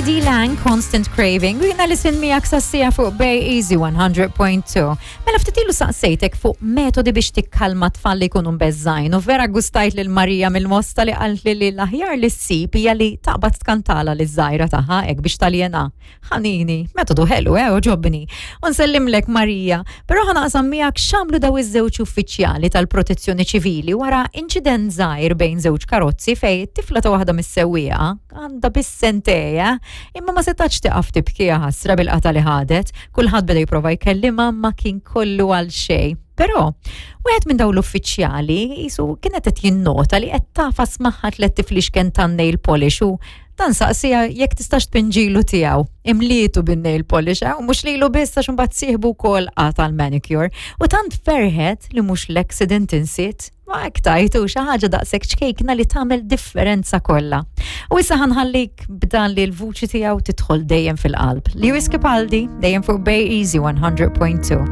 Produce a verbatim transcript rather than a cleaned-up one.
K D Lang, Constant Craving, u jiena li sin miegħek sassija fuq Bay Easy one hundred point two. Mela ftit ilu saqsejtek fuq metodi biex tikkalma tfal li jkunu mbeżżgħin u vera gustajt lil Marija mill-Mosta li qalt li li l-aħjar li ssib hija li taqbad tkantala liż-żgħira tagħha hekk biex taljena. Ħanini, metodu ħelu, eh, għoġobni. U nsellimlek, Marija, però ħa naqsam miegħek x'għamlu daw iż-żewġ uffiċjali tal-Protezzjoni Ċivili wara inċident żgħir bejn żewġ karozzi fej tifla ta' waħda mis-sewwieqa għandha biss sentejn, imma ma setax tiqaf tibki ħasra bil-qata li ħadet, kulħadd beda jipprova jkellimha ma kien kollu għal xejn. Però, wieħed minn dawn l-uffiċjali jisu kienet qed jinnota li qed tagħfas magħha tliet tiflixken tan-nail polish u dan saqsija jekk tistax tpinġilu tiegħu. Imlietu bin-nail polish, eh, u mhux lilu biss għax imbagħad sieħbu wkoll qata l-manicure. U tant ferħet li mhux l-accident insiet. Ma hekk tajtu xi ħaġa daqshekk ċkejkna li tagħmel differenza kollha. U issa ħa nħallik b'dan li l-vuċi tiegħu tidħol dejjem fil-qalb. Lewis Capaldi, dejjem fuq Bay Easy one hundred point two.